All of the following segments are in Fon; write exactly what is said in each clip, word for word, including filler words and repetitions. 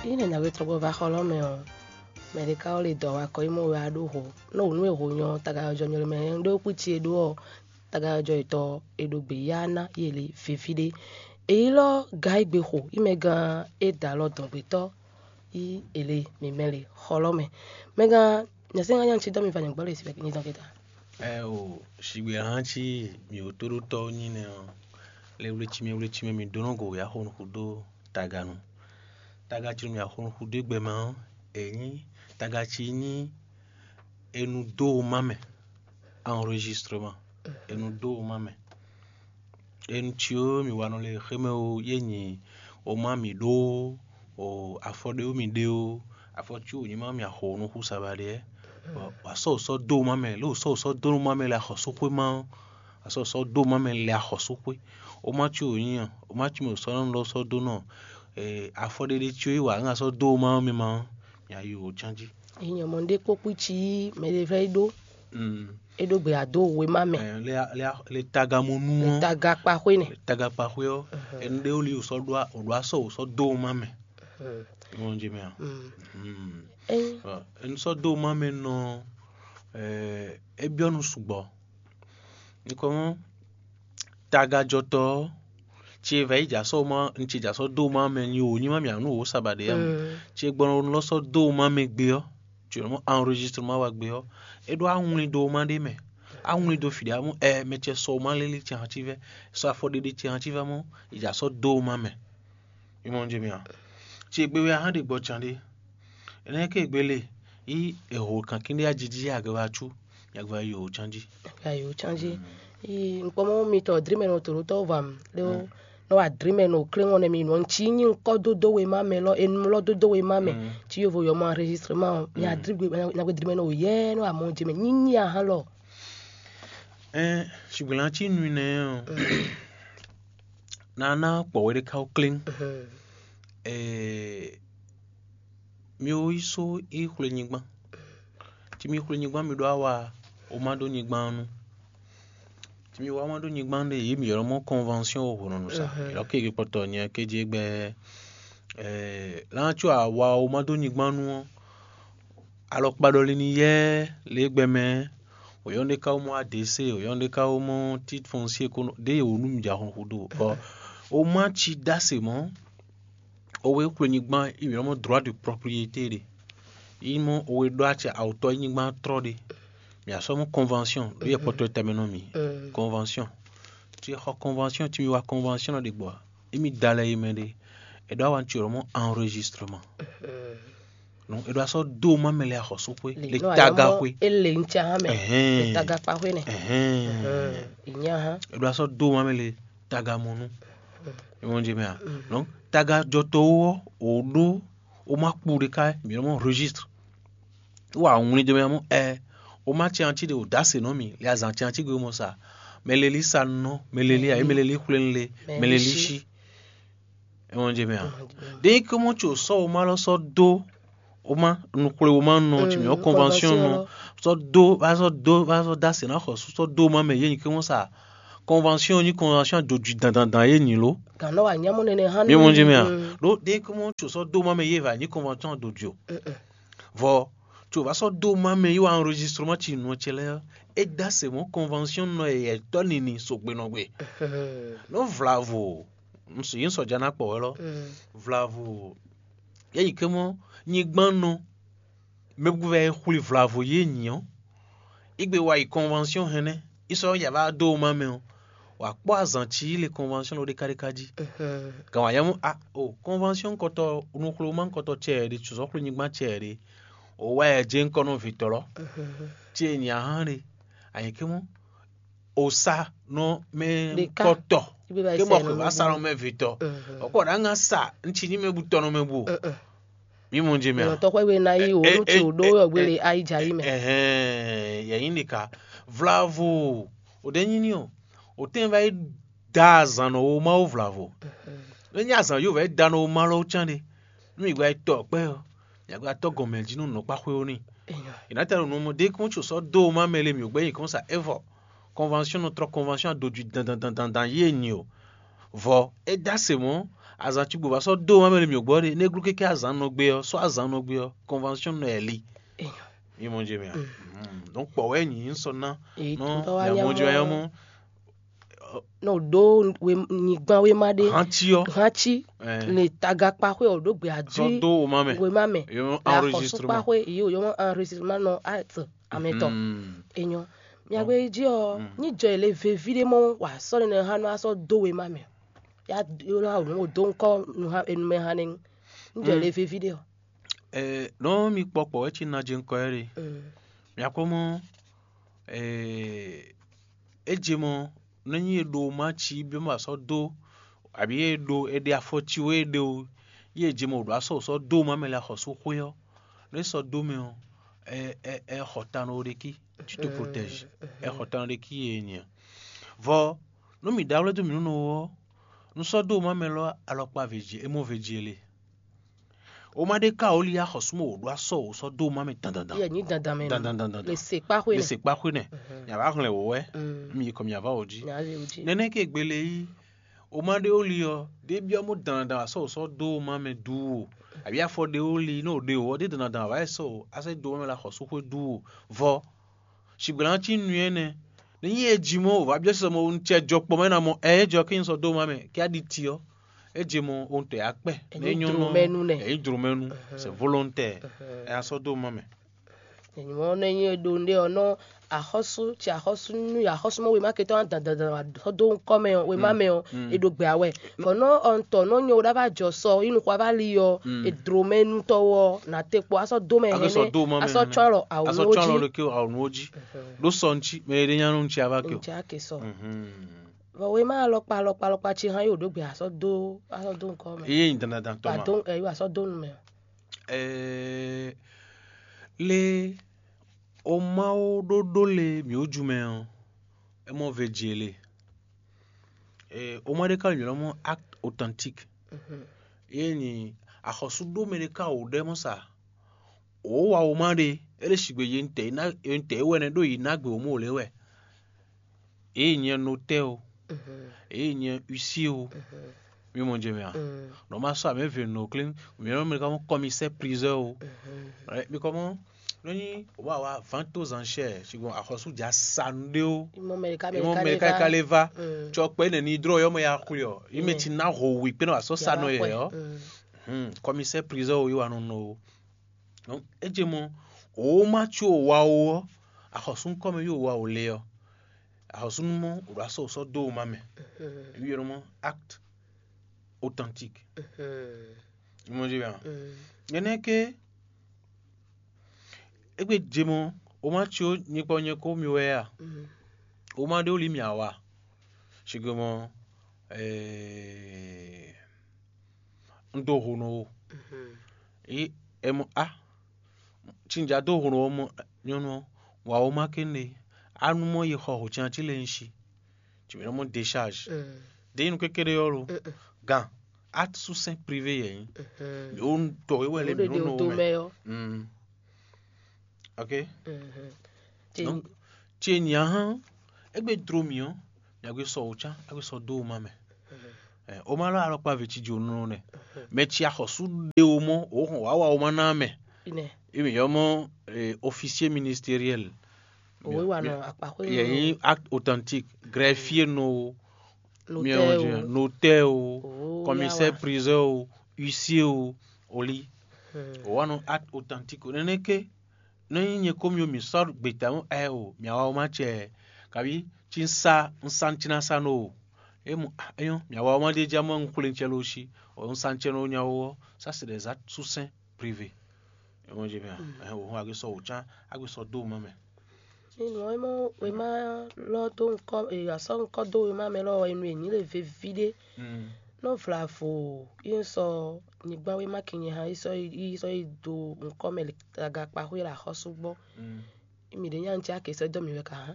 Ényí nɛ̌ nǎwe trɔ́gbɔ va xɔlɔ́ mɛ ɔ́, mɛ ɖé ka wɛ lé dɔ̌ wá kɔ yi mɔ wɛ wá ɖó ho. Nú wǔ nú e ho nyɔ tagayɔjɔ nyɔ lɛ́ mɛ, un ɖó kpí ce e ɖó ɔ́, tagayɔjɔ yětɔn e ɖo gbě yá ná yi è lě víví ɖé. È ylɔ́ Gaigbe xo yi mɛ gán e da alɔ dɔ̌ngbetɔ́ yi è lě mǐmɛ́ lě xɔlɔ́ mɛ. Mɛ gán nyɛ̌sɛ́n nya nya cí dɔ́ mi va nyɔ̌gbɔ́ lě si wɛ nyi dɔn kɛta. Ɛ o, shigbe hán cí mǐ wǒtóɖótɔ́ nyí nɛ́ ɔ́, lé wlécímɛ wlécímɛ mi ɖó nɔ go wě axɔ́núxú dó taganu. Taga cí nú mì axɔ́núxú dó gbɛmɛ ɔ́, è nyí taga cí nyí è nɔ dó womá mɛ, enregistrement, è nɔ dó womá mɛ. È nɔ cí ó, mì wa nɔ le xémɛ ó, yé nyi womá mì ɖó ó, o afɔ ɖé ó mì ɖe ó, afɔ cí wǒ nyí má mì axɔ́núxú sabaɖé ɛ. Bɔ wǎ sɔ́ wǒ sɔ́ dó womá mɛ, lě wǒ sɔ́ wǒ sɔ́ dó nú má mɛ lɛ axɔ́súxwé má ɔ́, wǎ sɔ́ wǒ sɔ́ dó womá mɛ lɛ axɔ́súxwé. Womá cí wǒ nyí a, womá cí mɛ wǒ sɔ́ nɔ lɔ sɔ́ dó nɔ afɔ ɖé ɖé cí ó yí wǎ ŋa sɔ́ dó womá ɔ́ mɛ má ɔ́, mǐ a yi wǒ cán jí. Nyɔ̌mɔ ɖé kpókpí cí mɛ ɖé vɛ́ ɖó. Mm. É ɖó gbe ado wema mɛ. Ɛ, le, le, le tagamonu ɔ́, Taga kpaxwé nɛ. Tagakpaxwé ɔ́, ɛnu ɖé wó li wò sɔ́ ɖó a, wò ɖó asɔ wò sɔ́ dó woma mɛ. Wọ́n jẹ mɛ a? Mm. Ɛ, Ɔ, ɛnu sɔ́ dó woma mɛ nɔ, ɛ, é byɔ́ nu sugbɔ. Nukɔn tagajɔtɔ́ ɔ́, ce vɛ̌ yi jǎ sɔ́ woma, un ce jǎ sɔ́ dó woma mɛ nyi wò nyí má mì ǎ nú wǒ sabaɖé ǎ mɔ. Mm. Ce gbɔn lɔ sɔ́ dó woma mɛ gbé ɔ́, jǒnɔ mɔ enregistrement wa gbé ɔ́, é ɖó awlin dó woma ɖé mɛ. Awlin dó fǐ ɖé amú ɛ mɛ ce sɔ woma lélí ce hán cí vɛ́, sɔ afɔ ɖéɖé ce hán cí vɛ́ mɔ, yi jǎ sɔ́ dó woma mɛ. Mi mɔ nú jɛ mi a? Ce gbe wɛ a hán ɖe gbɔ can ɖé. Énɛ́ ké gbe le, yí è ho kankín ɖé ajiji agɛwácu, nyagba yi wǒ cán jí. Agba yi wǒ cán jí. Yi nukpɔmɔ mitɔ drimɛ nɔ tòlótɔ vam lé o. Nɔ wa drimɛ nɔ klé ŋɔ nɛ mi nɔ ntsi nyi ŋkɔ dódó wema mɛ lɔ enu lɔ dódó wema mɛ. Ci yovo yɔ mɔ enregistrement mi adri gbe nyagbe drimɛ nɔ yɛ nɔ amɔ jɛ mɛ nyinyi ahan lɔ. Ɛn, ṣùgbọ́n cí nu nɛ ɔ, nana kpɔwé ɖé ka klé. Ɛɛ, mi wo yi só yi xwle nyigban. Ci mi xwle nyigban mi ɖó awa, o ma ɖó nyigban nu. Ci mi wa ma ɖó nyigban ɖe yi mi yɔrɔ mɔ convention o hɔnɔ nu sa. Yɔrɔ ke ke kpɔtɔ nyɛ ke je gbɛ. Ɛɛ, lan tso awa o ma ɖó nyigban nu ɔ, alɔkpa ɖɔ li ni yɛ le gbɛ mɛ. Oyɔn ɖe ka wo mɔ adese, oyɔn ɖe ka wo mɔ titre foncier ko ɖe ye wo nu mi ja xɔn xu do. Bɔ o ma ci dase mɔ. Owe xwlenyigban yi mǐ nɔ mɔ droit de propriété ɖe. Yi mɔ owe ɖó acɛ awutɔ yi nyigban trɔ ɖe. Mǐ asɔ mɔ convention ɖo yɛ kpɔtɔ tɛmɛ nɔ mǐ. Convention. Ci xɔ convention ci mi wa convention ɖe gbɔ. Yi mi da lɛ yi mɛ ɖe. E ɖo awa ci lɔ mɔ enregistrement. Non, e ɖo asɔ do ma mɛ le axɔsúxwe le taga xwe. Ele ŋtsa hã mɛ. Ɛhɛn. Le taga kpa xwe nɛ. Ɛhɛn. Inya hã. E ɖo asɔ do ma mɛ le tagamɔnu. Ìwọ̀n jẹ mɛ a? Donc tagajɔtɔwo ɔ́, wò ɖó wó má kpú ɖé ká mǐ nɔ mɔ registre. Wó wá wlin jɛ mɛ mɔ ɛ wó má tiɛ ati ɖe wò dó ase nɔ mì, lě azǎn tiɛ ati gbe mɔ sa. Mɛ lelí sa nɔ, mɛ lelí ayé, mɛ lelí xwlé le, mɛ lelí sí. Ìwọ̀n jẹ mɛ a? Ɖé nyí kɔmɔ tso sɔ wò má lɔ sɔ dó wò má nukplé wò má nɔ tsi mǐ ɔ́ convention nɔ sɔ dó va sɔ dó va sɔ dó ase ná xɔ sɔ dó wò má mɛ yé nyí kɔmɔ sa. Convention nyí convention adodwi dandandan yé nyi lo. Gǎn nɔ wà nyámɔ nɛnɛ hã. Mi mɔ jí mi a? Ɖó ɖé kɔmɔ tso sɔ dó ma mɛ yé va nyí convention adodwi o. Vɔ tso va sɔ dó ma mɛ yé wa enregistrement ci nɔ ce lɛ é dá se mɔ convention nɔ yɛ tɔ nini sogbe nɔ gbe. Nɔ vlavo, nsɔ yín sɔjà ná kpɔ wɛ lɔ. Vlavo, yɛ yi kɛmɔ nyigban nɔ mɛ bu vɛ xwli vlavo yé nyi ɔ́. Igbe wa yi convention hɛnɛ, isɔ ya va dó ma mɛ ɔ́, wà kpɔ́ azǎn ci le convention lɔ ɖékáɖéká jí. Gǎn wà nyɛ mú a o convention kɔtɔ nuxlomá kɔtɔ cɛ ɖe tsɔ̌ xwle nyigban cɛ ɖe. O wá yɛ jɛ ŋkɔ nɔ vitɔ́ lɔ. Ci e nya hán ɖe, anyɛ ké mɔ o sa nɔ mɛ kɔtɔ ké mɔ xwe va sa nɔ mɛ vitɔ́. Ɔkɔ ɖa ŋa sa ŋci ní mɛ bu tɔ nɔ mɛ bu o. Mi mɔ jɛ mɛ a? Tɔxwɛ we na yi o nu ti o ɖo yɔ gbele ayi ja yi mɛ. Ɛhɛn, yɛ yin ɖeka vlavo o ɖe nyi ni o o tɛn va yi da azan nɔ wo ma wo vlavo. Ne nyi azan yo va yi da nɔ wo ma lɔ can ɖe. Nu mi gba yi tɔ kpɛ o, mi gba tɔ gɔmɛ ji nu nɔ kpa xwe o ni. Ina tɛ nɔ mɔ de kún tso sɔ do ma mɛ le mi o gbɛ yi kɔn sa evɔ. Convention nɔ trɔ convention a do ju dandan dandan dandan ye nyi o. Vɔ e da se mɔ Azan cigbo ba sɔ́ dó ma mɛ le mǐ gbɔ ɖe, nɛ́ glú kéké azan nɔ gbé ɔ́, sɔ́ azan nɔ gbé ɔ́, convention nɔ ɛ li. Èèyàn. Yé mɔ jɛ mɛ a? Mm. Donc kpɔ̌ wɛ nyǐ un sɔ ná. Èyí nɔ tó tɔ́ wá mí nyá amɔjɔ mɔ. Nyá mɔ. Nɔ ɖó nyigban wéma ɖé. Hantsi ɔ́. Hantsi. Eh. Le tagakpa xwé ɔ́ ɖó gbé adú. Sɔ́ dó o ma mɛ. Wéma mɛ. Yé mɔ enregistrement. Akɔsɔkpa xwé yìí o yɔmɔ enregistrement nɔ at amɛtɔ. Mm. Enyɔ. Miagbe jí ɔ, ní jɔ ele veví ɖé mɔ wà sɔ́ nínú hã nɔ asɔ dó wéma mɛ. Ya yó ná wò dó ŋkɔ nu hã enu mɛ hã nɛ. Ní jɔ ele veví ɖé ɔ. Ɛ nɔ mi kpɔ kpɔ wɛ ci na jɛ ŋkɔ yɛ ɖe. Mm. Miakpɔ mɔ ɛ é je mɔ nɔ nyi e ɖo ma ci bí ma sɔ dó àbí e ɖo e ɖe afɔ ci wɛ e ɖe o, yé je mɔ o ɖo asɔ sɔ dó ma mɛ lɛ axɔsú xwé ɔ, nɔ é sɔ dó mɛ ɔ, ɛ ɛ ɛ xɔ tan nɔ ɖe kí. Tu te protège. Ɛ xɔ tan nɔ ɖe kí e nyɛ. Vɔ nú mǐ ɖe awlɛ́ dó mǐ nú nɔ ɔ́, nú sɔ́ dó ma mɛ lɔ alɔkpa vě jí é mɔ vě jí é le. O ma ɖe ka o li axɔsúmɔ wò ɖó asɔ wò sɔ́ dó ma mɛ dandandan. Yɛ nyi dandan mɛ. Dandan dandan. Le se kpa xwe Le nɛ. Se kpa xwe nɛ. Nya va hlɛn wò wɛ. Mm. Mi yi kɔ mi ava wò jí. Nya le o jí. Nɛnɛ ke gbele yi. O ma ɖe o li ɔ, ɖe byɔ mo dandan asɔ wò sɔ́ dó ma mɛ du o. Àbí afɔ ɖe o li ní o ɖe o ɔ, ɖe dandan wà sɔ o asɛ dó ma mɛ la xɔsú xwe du o. Vɔ Sigbla ɔ́ cí nú énɛ́. Nú nyi e ji mɔ wǒ va byɔ́ sísɔ mɔ un cɛ jɔ kpɔ́ mɛ ná mɔ ɛ é jɔ kí n sɔ́ dó ma mɛ kí á ɖi ti ɔ́, é je mɔ ohun tɛ á kpɛ. Nɛ é nyɔ́ nɔ ɛ nyí jlomɛnu nɛ. Ɛ nyí jlomɛnu. C'est volontaire. Ɛ á sɔ́ dó ma mɛ. Nyɔ̌ nɛ nyí ɖo ɖé ɔ́ nɔ axɔ́sú ci axɔ́sú nú axɔ́súmɔ wema ke tɔn dandandan sɔ́ dó ŋkɔ mɛ ɔ́ wema mɛ ɔ́, è ɖo gbɛ awɛ. Vɔ nɔ ɔntɔ nɔ nyɔ ɖá va jɔ sɔ yi nuxu va li ɔ́, è dlomɛnutɔ ɔ́ nà te kpɔ asɔ dó mɛ. Hɛnɛ asɔ dó ma mɛ asɔ hɛnɛ. Tsɔn alɔ awu asɔ nɔ tsɔn alɔ ji ɖo ke awu nɔ ji. Ɖó sɔ ŋtsi mɛ ɖé nya nɔ ŋtsi ava ke o. Ŋtsi ake sɔ. Vɔ wema alɔkpa alɔkpa alɔkpa ci hã yi wò ɖó gbɛ asɔ dó asɔ dó ŋkɔ mɛ. Eye nyi dandandan tɔ ma. Pardon, ɛ yi asɔ dó nu mɛ. Ɛɛ lé o Mawu ɖó ɖó le mǐ wú ju mɛ ɔ́, é mɔ ve jě le. Ee, o ma ɖé ka nyɔ̌ mɔ acte authentique. Yé nyi axɔsúɖómɛ ɖé ka wǒ ɖɛ́ mɔ sa. Wǒ wa wǒ ma ɖe, é ɖe sigbe yi ntɛ̌ yi ná yi ntɛ̌ yi wɛ nɛ́ ɖó yi ná gbe wǒ mɔ wǒ lɛ́ wɛ. Yě yi nyɛ notɛ́ o, yě yi nyɛ huissier o, mi mɔ jɛ mɛ a? Nɔ ma sɔ amɛ ve nɔ klín, mi nɔ mɛ ka mɔ commissaire priseur o. Mi kɔ mɔ nɔ nyi wa wa vente aux enchères, sigbɔn axɔsú ja sa nu ɖé o. Imɔ mɛ ka Imɔ mɛ ka ka lé va. Tsɔ kpɛ nɛ ni drɔ yɔ mɛ ya xwli ɔ. Imɛ ti na ho wi kpɛ nɔ asɔ sa nɔ yɛ yɔ. Commissaire priseur o yi wa nɔ nɔ o. Donc é je mɔ wǒ ma có wa o ɔ, axɔsú ŋkɔ mɛ yóò wa o le ɔ. Axɔsúnumɔ wò ɖo asɔ sɔ́ dó wò ma mɛ. Émí ylɔ́ mɔ acte authentique. Mɔ jí bia. Nyɛ nɛ́ ké égbé je mɔ wò ma có nyikpɔ nyɛ kó mi wɛ a? Wò ma ɖé wò lí mì awa. Sigbe mɔ un dó ho nɔ wo. Yi ɛ mɔ a Tsinja dó hwlɔ́n ɔ́ mɔ nyɔ́nu ɔ́, wǎ ó má kénɖe, á nú mɔ yi xɔ hǒcáncí lɛ́ɛ nyi si, cǐ mɛ nɔ mɔ décharge. Ɖěnyínu kékeré ɔ́ lo, gan atsúsɛn privé yɛ nyí. Mǐ ó tɔ wíwɛ lé mǐ nɔ nɔ mɛ. Ok. Donc, ce nyǎ hán, égbé dro mǐ ɔ́, mǐ a gbé sɔ wǒcán, a gbé sɔ dó wǒ má mɛ. Ɛ, wǒ má lɔ alɔkpa vě cí jǒnɔ nɛ. Mɛ cí axɔ̌sú ɖé wǒ mɔ, wǒ hɔn wǎ wa wǒ má ná mɛ. Ine. Imi yɔ mɔ, eh, officier ministériel. Òwe wa nɔ akpaxwé yɛ yín acte authentique, greffier nɔ o, Notaire o. Notaire o, Oh, commissaire yawa. Priseur o, huissier o, oli. Wǒ wa nɔ acte authentique o. Nɛnɛ ké, nɔ nyí nyɛ kó mì o mǐ sɔ́ gbeta mɔ ɛ o mǐ awa o ma cɛ, kabi cí un sa un sa un cí ná sa nɔ o. É mɔ ah, é nyɔ́ mǐ awa o ma ɖe jɛ mɔ un xwlé un cɛ ló sí, o un sa un cɛ nɔ nya o ɔ́, ça c'est des actes sous sein privé. É mɔ jɛ mɛ ɛ o hɔn a gbé sɔ o cán a gbé sɔ dó o ma mɛ. Nínú ɔ́, é mɔ wěma lɔ dó ŋkɔ, e asɔ ŋkɔ dó wěma mɛ lɔ wɛ nú è nyǐ le veví ɖé. Nɔ vlavo yi sɔ nyigban wéma kinyi hã yi sɔ yi sɔ yi do ŋkɔ mɛ le agakpa xwé le axɔ́sú gbɔ. Mì ɖě nya ŋtí ake sɔ dɔ mì wɛ ka hã.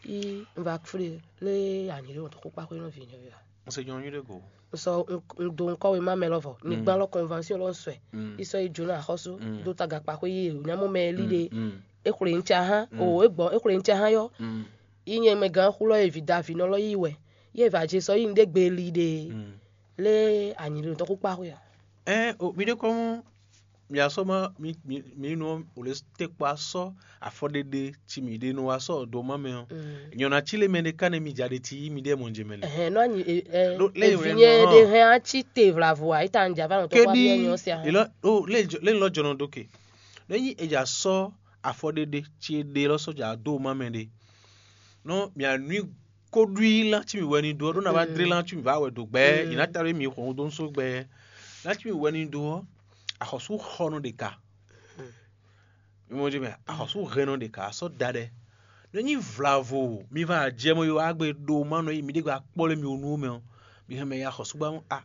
Yi un va fle le anyi ɖe ŋutɔ xó kpa xwé nɔ vi nyɔ ya. N se nyɔ nyuɖe go. Un sɔ un do ŋkɔ wéma mɛ lɔ vɔ nyigban lɔ convention lɔ sɔɛ. Yi sɔ yi jo na axɔ́sú do tagakpa xwé yi nyamɔ mɛ li ɖe. E xwle ŋtí ahã o e gbɔ e xwle ŋtí ahã yɔ. Yi nyɛ mɛ gán xulɔ ye vi davi nɔ lɔ yi wɛ. Ye va je sɔ yi ŋɖe gbe li ɖe. Lé anyi ɖo tɔkú kpa xwe a? Ɛn o, mi ɖe kɔn mi asɔ ma mi mi mi nɔ o le te kpa sɔ afɔɖeɖe ci mi ɖe nɔ wa sɔ do ma mɛ ɔ. Nyɔna ci le mɛ ɖe ka ne mi ja ɖe ti yi mi ɖe mɔ jɛ mɛ le. Ɛhɛn, nɔ anyi ɛ Ɖo lɛ ɛ yɛ vi wɛ nyɛ nɔ ɖe hɔn. Hɛn atsi te vlavo a, ita n java nɔ tɔkú Kedi abi nyɔ sia. Ilɔ o le jɔ- le lɔ jɔnɔ do ke. Ne nyi e ja sɔ afɔɖeɖe ci e ɖe lɔ sɔ ja do ma mɛ ɖe. Nɔ mi anui koɖui lan ci mi wɛ ni do ɔ ɖo na va dre lan ci mi va wɛ do gbɛ yi na ta ɖo mi xɔn do nso gbɛ. Lan ci mi wɛ ni do ɔ, axɔsu xɔ nɔ ɖe ka. Mi mɔ dzi mɛ axɔsu hɛn nɔ ɖe ka sɔ da ɖɛ. Ne nyi vlavo mi va jɛ mɔ yo agbe ɖo ma nɔ yi mi ɖe gba kpɔ le mi wo nu mɛ ɔ, mi hɛn mɛ ya axɔsu gba a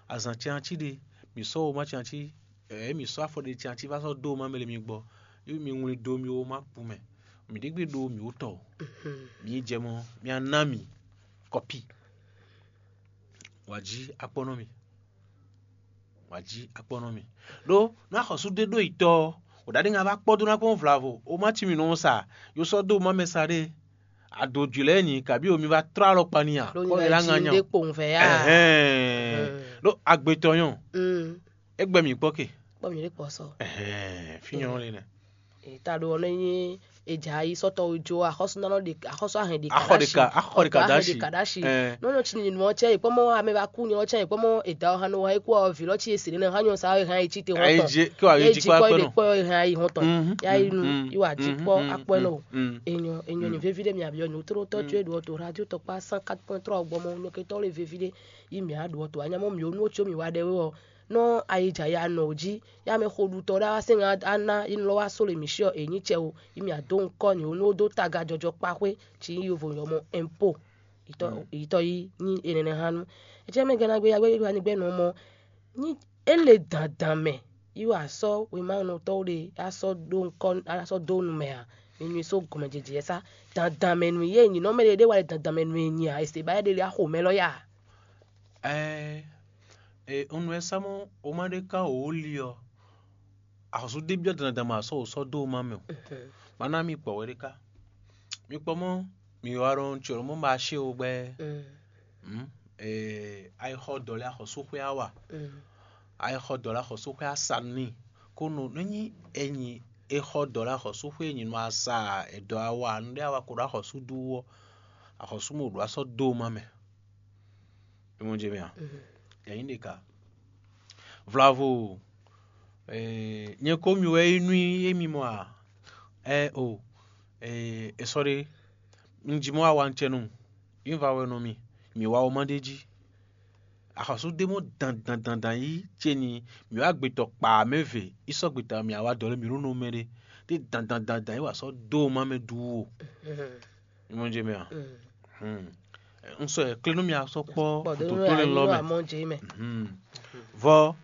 azan tianti ɖe mi sɔ wo ma tianti ɛ mi sɔ afɔ ɖe tianti va sɔ do ma mɛ le mi gbɔ. Yi mi ŋlin do mi wo ma kpu mɛ. Mi ɖe gbe ɖo mi wo tɔ. Mi jɛ mɔ mi ana mi kɔpi. Wa ji akpɔ nɔ mi. Wa ji akpɔ nɔ mi. Ɖó nú axɔsú ɖé ɖó yi tɔ ɔ, wǒ ɖaɖé ŋa va kpɔ́ dó ná kpɔ́n vlavo, o má cí mi nɔ sa, yo sɔ́ dó má mɛ sa ɖé. Ado jǐ lɛ́ɛ nyi, kabí o mi va trɔ́ alɔkpa n'i a? Ɖó Kpɔ́ nyɛ mi lá ŋa jí nya. Ɖé kpowun vɛ yá. Ɛhɛn. Ɖó agbe tɔn nyɔ, é gbɛ mǐ kpɔ́ ke. Kpɔ́ mi ɖé kpɔ́ sɔ. Ɛhɛn, fí nyɔ le nɛ. Ta ɖo ɔnɔ nyi eja yi sɔtɔ jo axɔsúnánɔ ɖe axɔsú ahɛn ɖe Axɔ ɖeka, axɔ ɖeka ɖe asi. Kadashi. Ɛn. Nɔnɔ tsi nyinyi nɔ tsɛ yi kpɔmɔ ame va ku nyɔ tsɛ yi kpɔmɔ eda ɔha nɔ wa yi kú ɔ vi lɔ tsi esi nɛ hanyɔ sa yi hàn yi tsi te Ayi hɔntɔn. Je ke wa yi Ye ji jikpɔ kpɔ akpɛ yi nɔ. Kpɔ yi hàn yi hɔntɔn. Mhm, Ya yi nu mhm, yi wa ji mhm, kpɔ mhm, akpɔ nɔ. Mhm. Enyo enyo ni vevi ɖe mi abi ɔ nyu tro tɔ tso eɖo ɔto radio tɔkpa cent quatre point trois gbɔmɔ nɔ ke tɔ le vevi ɖe yi mi aɖo ɔto anyamɔ mi onu tso mi wa ɖe wɔ nɔ ayidza ya nɔ o ji ya mɛ xo ɖu tɔ ɖe wa sɛn ana yi nɔ wa so le mi si ɔ e nyi cɛ o yi mì adó ŋkɔ nyɛ wú nú ó dó taga jɔjɔ kpaxwé cí nyí yovo nyɔmɔ ɛnpo yitɔ yí nyí enɛnɛ hán nú. Ecɛ́ mɛ gɛ́ ná gbé yá gbé yá ní gbɛ́ nɔ mɔ nyí é le dandan mɛ yí wa sɔ́ wěmánɔtɔ́ ɖé á sɔ́ ɖó ŋkɔ á sɔ́ dó nu mɛ ǎ. Mi nyi só gɔmɛjɛjɛ sá dandan mɛ nú yé nyǐ nɔ mɛ ɖé ɖé wa le dandan mɛ nú yé nyí ǎ. Èsè bá yɛ ɖé lé axo mɛ lɔ yá. Ɛɛ, e, un nɔ ɛ sá mɔ o ma ɖe ká wǒ li ɔ, axɔsú ɖé byɔ́ dandan ma sɔ́ wǒ sɔ́ dó o ma mɛ o. Ma ná mi kpɔ wɛ ɖé ká. Mi kpɔ mɔ mi wa ɖɔ un tso mɔ ba ṣe o gbɛ. Mm. Eh, ayi xɔ dɔ lɛ axɔsú xwé awa. Ayi xɔ dɔ lɛ axɔsú xwé asa ni. Ko no ne nyi enyi e xɔ dɔ lɛ axɔsú xwé enyi nɔ asa edɔ awa nu ɖe awa ko ɖo axɔsú ɖu wɔ. Axɔsú mo ɖo asɔ dó o ma mɛ. Imɔ dze mɛ a? Yɛ nyi ɖeka. Vlavo, eh, nyɛ ko mi wɛ yi nú émi mɔ a? Ɛ o, eh, esɔ ɖe, un ji mɔ awa un cɛ nɔ, yi va wɛ nɔ mi, mi wa o ma ɖe jí. Axɔsú ɖé mɔ dan dan dan dan yi ce ni mi wa gbetɔ kpa mɛ ve, yi sɔ gbeta mi awa dɔ lɛ mi ɖo nɔ mɛ ɖe, ɖe dan dan dan dan yi wa sɔ do ma mɛ du o. Imɔ dze mɛ a? Hmm. Un sɔ ɛ kle nú mi asɔ kpɔ Kpɔ do dotó lɛ lɔ mɛ. Amɔ dze mɛ. Hmm. Vɔ